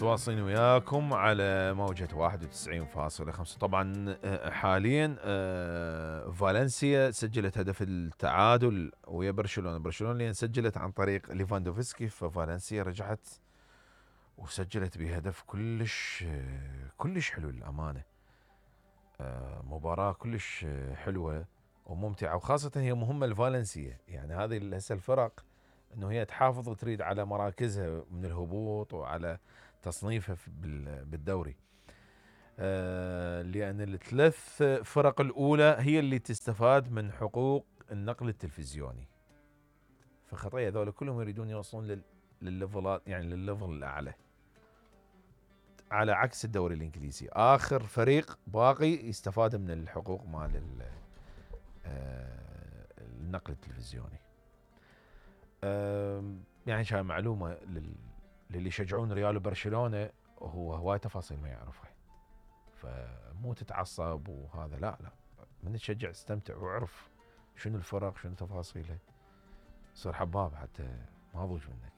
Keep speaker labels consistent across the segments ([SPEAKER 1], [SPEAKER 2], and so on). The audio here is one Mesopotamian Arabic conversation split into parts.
[SPEAKER 1] متواصلين وياكم على موجة 91.5. طبعا حاليا فالنسيا سجلت هدف التعادل ويا برشلونة اللي سجلت عن طريق ليفاندوفسكي، ففالنسيا رجعت وسجلت بهدف كلش حلو للأمانة. مباراة كلش حلوة وممتعة، وخاصة هي مهمة لفالنسيا، يعني هذه هسه الفرق انه هي تحافظ وتريد على مراكزها من الهبوط وعلى تصنيفها بالدوري، لأن الثلاث فرق الأولى هي اللي تستفاد من حقوق النقل التلفزيوني، فخطية هذول كلهم يريدون يوصلون للليفلات، يعني للليفل الأعلى، على عكس الدوري الإنجليزي آخر فريق باقي يستفاد من الحقوق مال النقل التلفزيوني. يعني شاي معلومة للي يشجعون ريال وبرشلونة، هو هواي تفاصيل ما يعرفها، فمو تتعصب وهذا، لا من تشجع استمتع واعرف شنو الفرق شنو تفاصيلها، صير حباب حتى ما ضوج منك.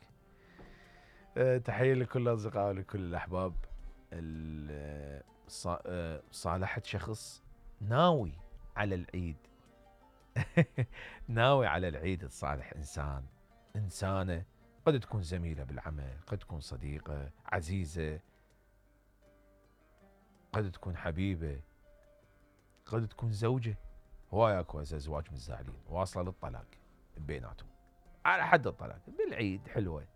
[SPEAKER 1] تحية لكل الأصدقاء ولكل الأحباب. صالحت شخص ناوي على العيد ناوي على العيد تصالح إنسانة قد تكون زميلة بالعمل، قد تكون صديقة عزيزة، قد تكون حبيبة، قد تكون زوجة. هواي اكو ازواج متزاعلين واصلة للطلاق بيناتهم على حد الطلاق بالعيد. حلوة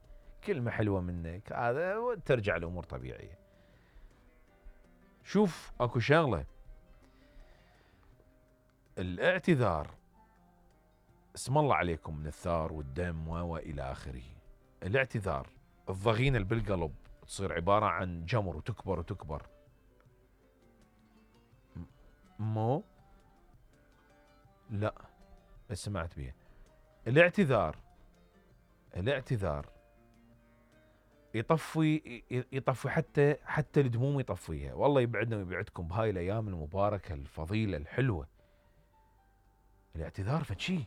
[SPEAKER 1] كلمة حلوة منك هذا وترجع الأمور طبيعية. شوف اكو شغلة، الاعتذار اسم الله عليكم من الثار والدم والى اخره. الاعتذار الضغينة اللي بالقلب تصير عبارة عن جمر وتكبر وتكبر. مو لا سمعت بيه. الاعتذار يطفي حتى الدموم يطفيها. والله يبعدنا ويبعدكم بهاي الايام المباركة الفضيلة الحلوة. الاعتذار فشي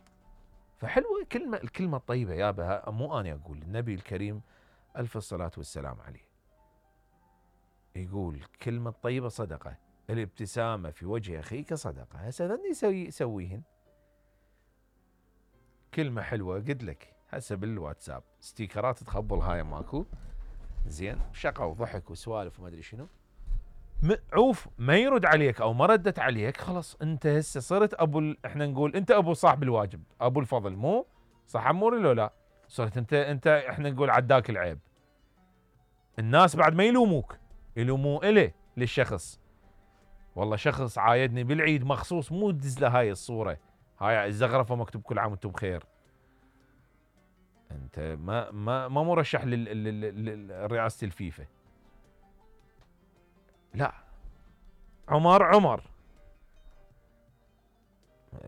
[SPEAKER 1] فحلوة، الكلمة الطيبة يابا، مو أنا أقول، النبي الكريم ألف الصلاة والسلام عليه يقول كلمة طيبة صدقة، الابتسامة في وجه أخيك صدقة. هسه ذني يسويهن كلمة حلوة. قد لك هسه بالواتساب ستيكرات تخبل هاي ماكو زين، شقة وضحك وسوالف وما أدري شنو، عوف ما يرد عليك أو ما ردت عليك، خلاص أنت هسه صرت احنا نقول أنت أبو صاحب الواجب، أبو الفضل، مو صح عموري لو لا؟ صرت أنت احنا نقول عداك العيب. الناس بعد ما يلوموك، يلوموا للشخص. والله شخص عايدني بالعيد مخصوص، مو تدز له هاي الصورة، هاي الزغرفة مكتوب كل عام وانتم بخير. انت ما مرشح لرئاسة الفيفا. لا، عمر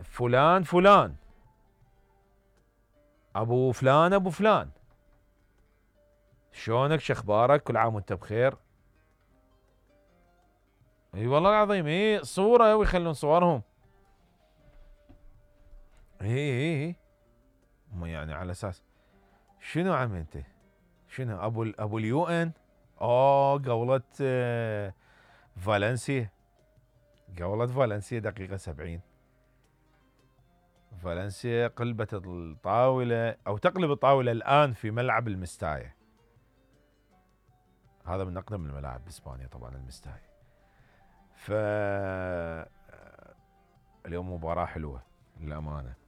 [SPEAKER 1] فلان ابو فلان شلونك شخبارك كل عام وانت بخير. اي والله العظيم صورة ويخلون صورهم. اي يعني على اساس شنو عم انت شنو ابو اليو ان قولت فالنسيا دقيقة 70 فالنسيا قلبت الطاولة او تقلب الطاولة الان في ملعب المستايا. هذا من اقدم الملاعب باسبانيا طبعا المستايا. اليوم مباراة حلوة للأمانة.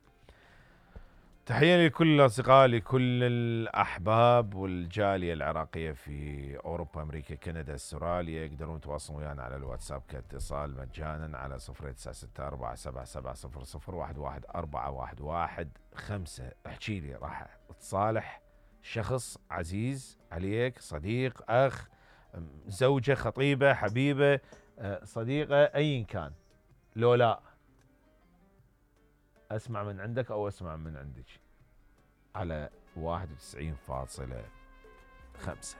[SPEAKER 1] تحية لكل الأصدقاء، لكل الأحباب والجالية العراقية في أوروبا، أمريكا، كندا، استراليا. يقدرون يتواصلون ويانا على الواتساب كاتصال مجانا على 0964770011 احكي لي، راح تصالح شخص عزيز عليك، صديق، أخ، زوجة، خطيبة، حبيبة، صديقة، أي كان، لو لا اسمع من عندك او اسمع من عندك على 91.5.